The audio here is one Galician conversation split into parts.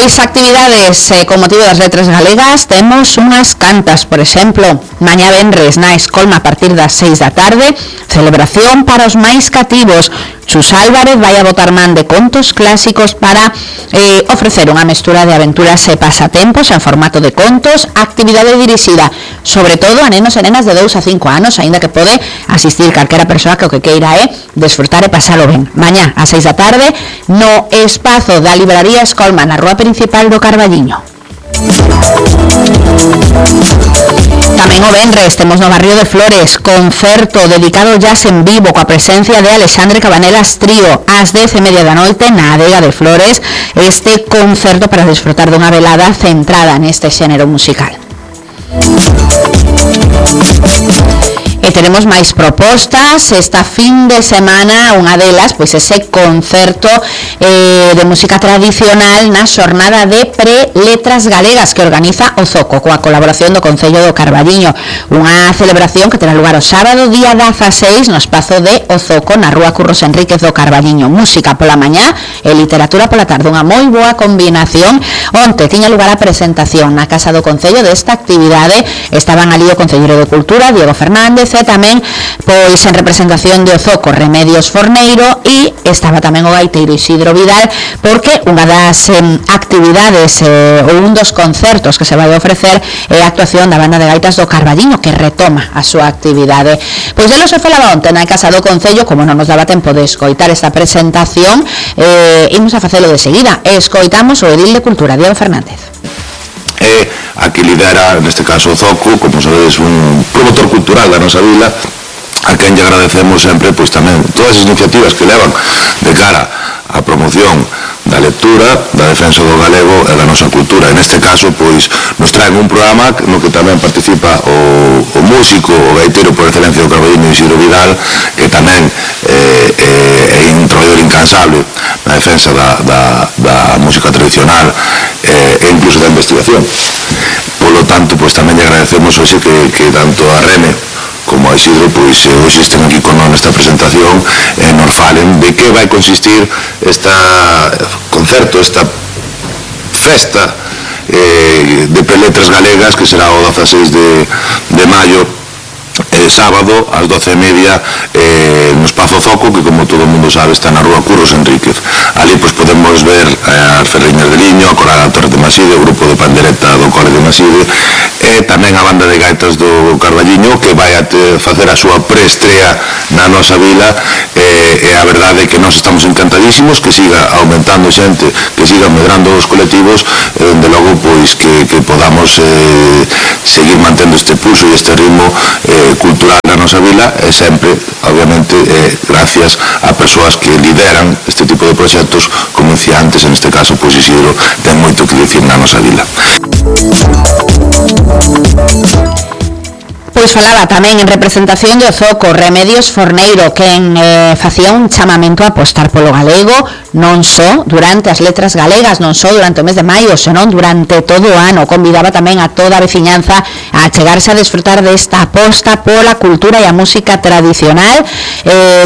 Pois actividades con motivo das letras galegas temos unhas cantas, por exemplo, mañá venres na Escolma a partir das 6 da tarde, celebración para os máis cativos. Chus Álvarez vai a botar man de contos clásicos para ofrecer unha mestura de aventuras e pasatempos en formato de contos, actividade dirixida sobre todo a nenos e nenas de 2 a 5 anos, aínda que pode asistir calquera persoa que o que queira é desfrutar e pasalo ben. Mañá a 6 da tarde no espazo da Libraría Escolma na rúa principal do Carballiño. Tamén o venres temos no barrio de Flores concerto dedicado ao jazz en vivo coa presencia de Alexandre Cabanelas Trío ás 10:30 da noite na adega de Flores, este concerto para desfrutar dunha velada centrada neste xénero musical. E teremos máis propostas esta fin de semana, unha delas, pois ese concerto de música tradicional na xornada de pre-letras galegas que organiza o Zoco, coa colaboración do Concello do Carballiño, unha celebración que terá lugar o sábado día 16 no espazo de o Zoco na rúa Curros Enríquez do Carballiño. Música pola mañá e literatura pola tarde, unha moi boa combinación. Onte tiña lugar a presentación na Casa do Concello desta actividade, estaban ali o Concelleiro de Cultura, Diego Fernández, e tamén pois en representación de Ozoco Remedios Forneiro, e estaba tamén o gaiteiro Isidro Vidal, porque unha das actividades ou un dos concertos que se vai ofrecer é a actuación da banda de gaitas do Carballiño, que retoma a súa actividade. Pois delo se falaba onte na Casa do Concello, como non nos daba tempo de escoitar esta presentación, imos a facelo de seguida. Escoitamos o edil de Cultura, Diego Fernández. A que lidera, neste caso o Zoco, como sabedes, un promotor cultural da nosa vila, a quen lle agradecemos sempre pois tamén todas as iniciativas que levan de cara á promoción da lectura, da defensa do galego e da nosa cultura. En este caso, pois, nos traen un programa no que tamén participa o músico, o gaiteiro por excelencia do Carballiño, Isidro Vidal, que tamén é un traballador incansable na defensa da música tradicional e incluso da investigación. Polo tanto, pois tamén lle agradecemos hoxe que tanto a Rene como a Isidro, pois hoxe estén aquí con nesta presentación e nos falen de que vai consistir este concerto, esta festa de preletras galegas, que será o 16 de maio, sábado, ás 12:30 no espazo Zoco, que como todo o mundo sabe está na rúa Curros Enríquez. Ali pois podemos ver as Ferreñas de Liño, a Coral Torres de Maside, o grupo de pandereta do Cole de Maside, e tamén a banda de gaitas do Carballiño, que vai a facer a súa preestrea na nosa vila, e a verdade é que nós estamos encantadísimos que siga aumentando xente, que siga medrando os colectivos, de logo pois que podamos seguir mantendo este pulso e este ritmo cultural na nosa vila, e sempre, obviamente, gracias a persoas que lideran este tipo de proxectos, como decía antes, en este caso, pois Isidro ten moito que dicir na nosa vila. Pois falaba tamén en representación de Ozoco Remedios Forneiro, quen facía un chamamento a apostar polo galego, non só durante as letras galegas, non só durante o mes de maio, senón durante todo o ano. Convidaba tamén a toda a veciñanza a chegarse a desfrutar desta aposta pola cultura e a música tradicional.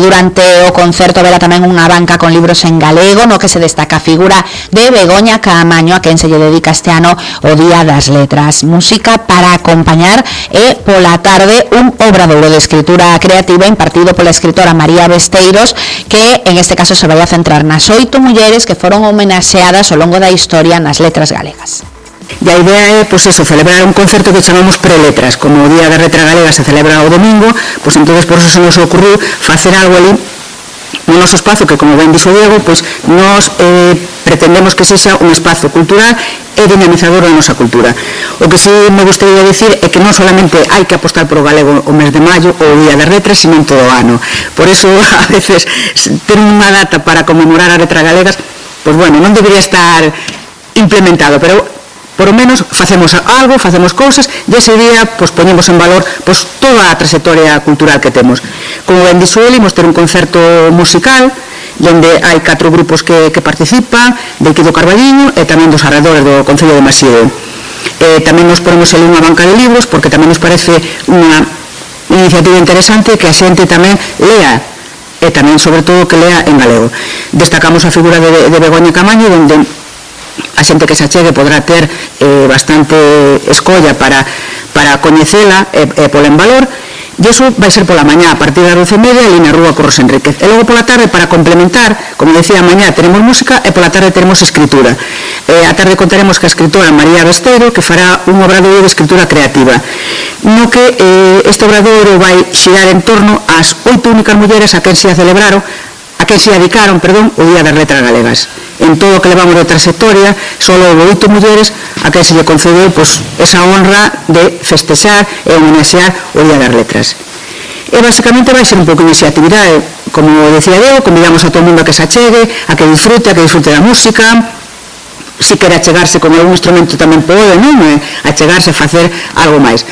Durante o concerto haberá tamén unha banca con libros en galego, no que se destaca a figura de Begoña Caamaño, a quen se lle dedica este ano o Día das Letras. Música para acompañar e pola tarde un obradoiro de escritura creativa impartido pola escritora María Besteiros, que en este caso se vai a centrar nas 8 mulleres que foron homenaxeadas ao longo da historia nas letras galegas. E a idea é, pois eso, celebrar un concerto que chamamos preletras. Como o Día da Letra Galega se celebra o domingo, pois entonces por eso se nos ocurriu facer algo ali no noso espazo, que como ben dixo Diego, pois nos pretendemos que sexa un espazo cultural e dinamizador da nosa cultura. O que sí me gustaría dicir é que non solamente hai que apostar por o galego o mes de maio ou o Día das Letras, sino en todo o ano. Por eso, a veces, ter unha data para conmemorar as letras galegas, pois bueno, non debería estar implementado, pero por lo menos facemos algo, facemos cousas, e ese día pois poñemos en valor pois toda a trayectoria cultural que temos. Como ben dixo ele, imos ter un concerto musical onde hai 4 grupos que participan, de aquí do Carballiño e tamén dos arredores do Concello de Maside. Tamén nos ponemos ali unha banca de libros, porque tamén nos parece unha iniciativa interesante que a xente tamén lea, e tamén, sobre todo, que lea en galego. Destacamos a figura de Begoña Caamaño, onde a xente que se achegue podrá ter bastante escolla para coñecela e pola en valor. E iso vai ser pola mañá, a partir das 12:30, ali na Rúa Curros Enríquez. E logo pola tarde, para complementar, como decía, a mañá teremos música e pola tarde teremos escritura. A tarde contaremos ca escritora María Besteiro, que fará un obradoiro de escritura creativa, no que este obradoiro vai xirar en torno ás 8 únicas mulleres a quen se dedicaron o Día das Letras Galegas. En todo o que levamos de trayectoria, solo houve 8 mulleres a quen se lle concedeu esa honra de festexar e homenaxear o Día das Letras. E basicamente vai ser un pouco esa actividade. Como decía eu, convidamos a todo o mundo a que se achegue, a que disfrute da música. Se quere achegarse con algún instrumento tamén pode, non? Achegarse a facer algo máis.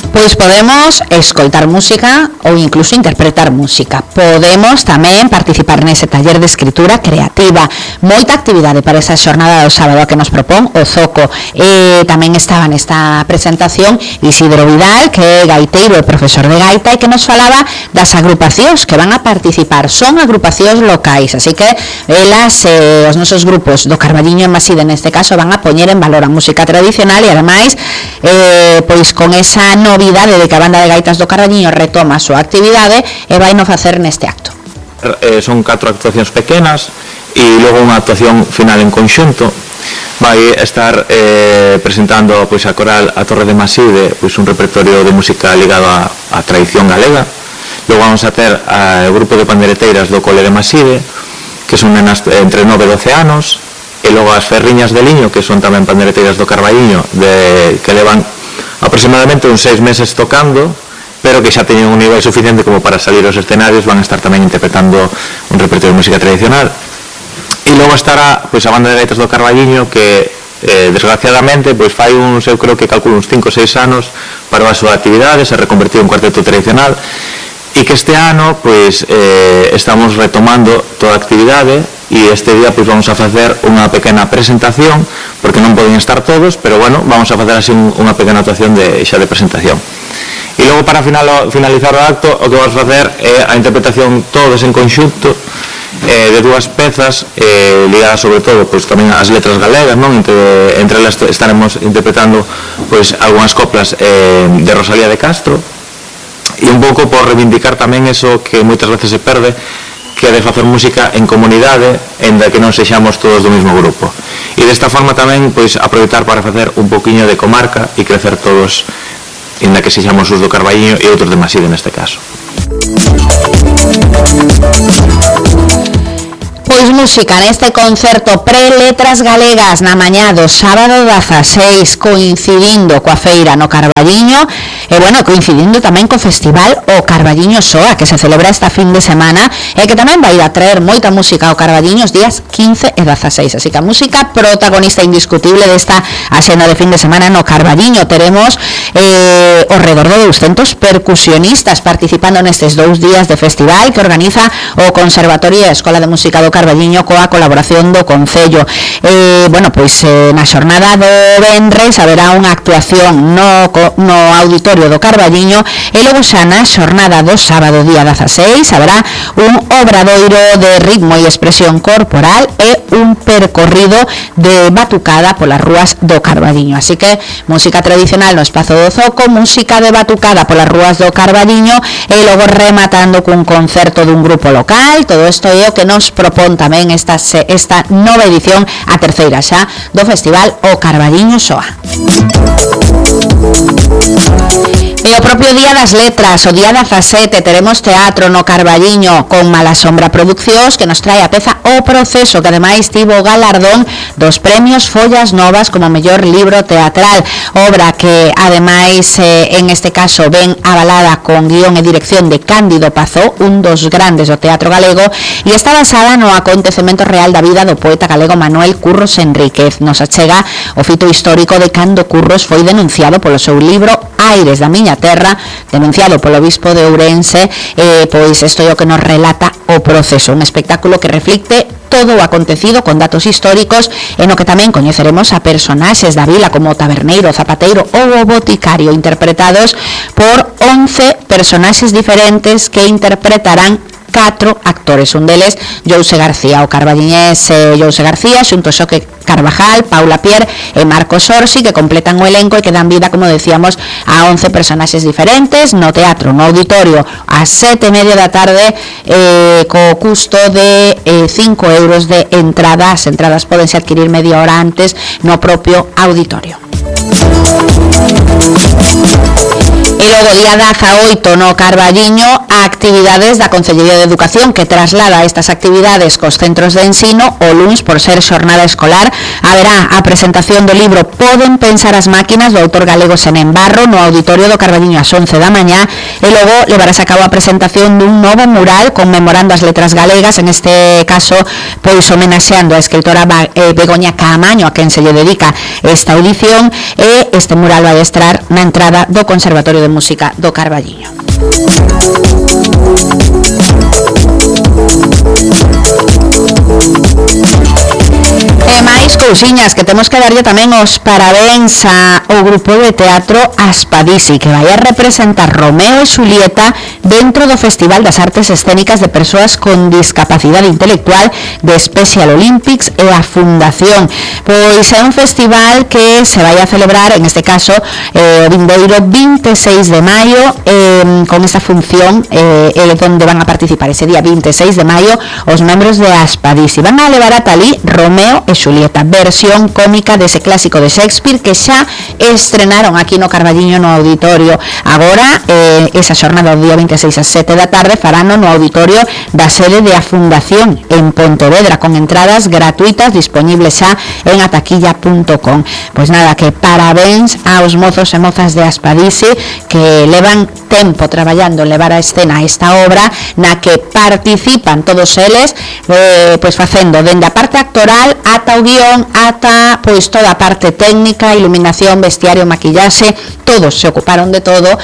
Pois podemos escoitar música ou incluso interpretar música. Podemos tamén participar nese taller de escritura creativa. Moita actividade para esa xornada do sábado que nos propón o Zoco. Tamén estaba nesta presentación Isidro Vidal, que é gaiteiro e profesor de gaita, e que nos falaba das agrupacións que van a participar. Son agrupacións locais, así que elas, os nosos grupos do Carballiño e Maside, neste caso, van a poñer en valor a música tradicional e, ademais, pois con esa novidade de que a banda de gaitas do Carballiño retoma a súa actividade e vai no facer neste acto. Son 4 actuacións pequenas e logo unha actuación final en conxunto. Vai estar presentando pois a coral A Torre de Maside, pois un repertorio de música ligado á tradición galega. Logo vamos a ter o grupo de pandereteiras do Cole de Maside, que son nenas entre 9 e 12 anos, e logo as Ferriñas de Liño, que son tamén pandereteiras do Carballiño, que levan aproximadamente uns 6 meses tocando, pero que xa teñen un nivel suficiente como para salir aos escenarios. Van a estar tamén interpretando un repertorio de música tradicional. E logo estará pois a banda de gaitas do Carballiño, que desgraciadamente pois fai eu creo que calculo uns 5 ou 6 anos para a súa actividade, se reconvertiu en cuarteto tradicional, e que este ano pois estamos retomando toda a actividade. E este día pois vamos a facer unha pequena presentación, porque non poden estar todos, pero bueno, vamos a facer así unha pequena actuación xa de presentación. E logo, para finalizar o acto, o que vamos a facer é a interpretación todos en conxunto de 2 pezas ligadas sobre todo pois tamén ás letras galegas, non? Entre elas estaremos interpretando pois algunhas coplas de Rosalía de Castro, e un pouco por reivindicar tamén eso que moitas veces se perde, que é de facer música en comunidade, en da que non sexamos todos do mesmo grupo. E desta forma tamén pois aproveitar para facer un poquinho de comarca e crecer todos, en da que sexamos os do Carballiño e outros de Maside neste caso. Pois música neste concerto Pre-Letras Galegas na mañá do sábado 16, coincidindo coa feira no Carballiño e, bueno, coincidindo tamén co festival o Carballiño Soa, que se celebra esta fin de semana e que tamén vai a traer moita música ao Carballiño os días 15 e 16, así que a música protagonista indiscutible desta axenda de fin de semana no Carballiño. Teremos ao redor de 200 percusionistas participando nestes 2 días de festival que organiza o Conservatorio e a Escola de Música do Carballiño coa colaboración do Concello. Bueno, pois na xornada do venres haberá unha actuación no auditorio do Carballiño e logo xa na xornada do sábado día 16 haberá un obradoiro de ritmo e expresión corporal e un percorrido de batucada polas rúas do Carballiño. Así que música tradicional no espazo do Zoco, música de batucada polas rúas do Carballiño e logo rematando cun concerto dun grupo local. Todo isto é o que nos propón tamén esta nova edición, a terceira xa, do Festival o Carballiño Soa. E o propio Día das Letras, o día 17, teremos teatro no Carballiño con Malasombra Produccións, que nos trae a peza O Proceso, que ademais tivo o galardón dos premios Follas Novas como mellor libro teatral, obra que ademais en este caso ven avalada con guión e dirección de Cándido Pazó, un dos grandes do teatro galego, e está basada no acontecemento real da vida do poeta galego Manuel Curros Enríquez. Nos achega o fito histórico de cando Curros foi denunciado polo seu libro Aires da miña terra, denunciado polo bispo de Ourense. Pois isto é o que nos relata O Proceso, un espectáculo que reflicte todo o acontecido con datos históricos e no que tamén coñeceremos a personaxes da vila como o taberneiro, o zapateiro ou o boticario, interpretados por 11 personaxes diferentes que interpretarán 4 actores, un deles Jose García, o carballiñés Jose García, xunto Xoque Carvajal, Paula Pierre e Marcos Orsi, que completan o elenco e que dan vida, como decíamos, a 11 personaxes diferentes no teatro, no auditorio, a 7:30 da tarde, co custo de 5 euros de entrada. As entradas podense adquirir media hora antes no propio auditorio. E logo, día 18 no Carballiño, actividades da Concellería de Educación, que traslada estas actividades cos centros de ensino. O luns, por ser xornada escolar, haberá a presentación do libro Poden pensar as máquinas, do autor galego Senén Barro, no auditorio do Carballiño ás 11 da mañá. E logo levarase a cabo a presentación dun novo mural conmemorando as letras galegas, en este caso pois homenaxeando a escritora Begoña Caamaño, a quen se lle dedica esta edición, e este mural vai estar na entrada do Conservatorio de Música do Carballiño. E máis cousiñas, que temos que darlle tamén os parabéns ao grupo de teatro Aspadisi, que vai a representar Romeo e Xulieta dentro do Festival das Artes Escénicas de Persoas con Discapacidade Intelectual de Special Olympics e a Fundación. Pois é un festival que se vai a celebrar, en este caso, o vindeiro 26 de maio, con esta función, donde van a participar ese día 26 de maio os membros de Aspadisi. Van a levar ata ali Romeo e Xulieta, versión cómica dese clásico de Shakespeare que xa estrenaron aquí no Carballiño no auditorio. Agora, esa xornada do día 26 ás 7 da tarde farano no auditorio da sede de a Fundación en Pontevedra, con entradas gratuitas disponibles xa en ataquilla.com. Pois nada, que parabéns aos mozos e mozas de Aspadisi, que levan tempo traballando en levar a escena esta obra, na que participan todos eles, pois facendo dende a parte actoral ata o guión, ata pois toda a parte técnica, iluminación, vestiario, maquillaxe, todos se ocuparon de todo.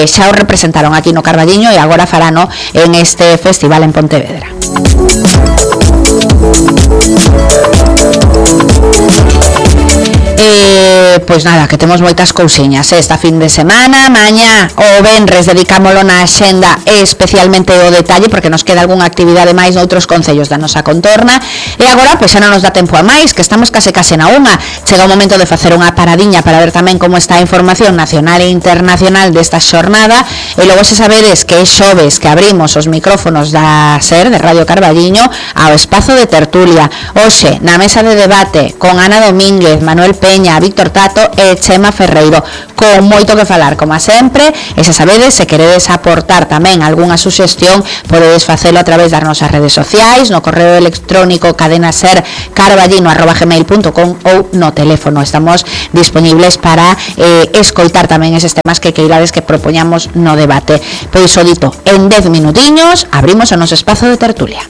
Xa o representaron aquí no Carballiño e agora farano en este festival en Pontevedra. Pois nada, que temos moitas cousiñas esta fin de semana. Mañá o venres dedicámolo na axenda especialmente o detalle, porque nos queda algunha actividade máis noutros concellos da nosa contorna. E agora, pois xa non nos dá tempo a máis, que estamos case na unha. Chega o momento de facer unha paradiña para ver tamén como está a información nacional e internacional desta xornada. E logo, se sabedes que é xoves que abrimos os micrófonos da SER, de Radio Carballiño, ao espazo de tertulia. Hoxe, na mesa de debate, con Ana Domínguez, Manuel Peña, Víctor Tato e Chema Ferreiro, con moito que falar, como sempre. E se sabedes, se queredes aportar tamén algunha suxestión, podedes facelo a través das nosas redes sociais, no correo electrónico cadenasercarballino@gmail.com ou no teléfono. Estamos disponibles para escoitar tamén eses temas que queirades que propoñamos no debate. Pois o dito, en 10 minutiños abrimos o noso espazo de tertulia.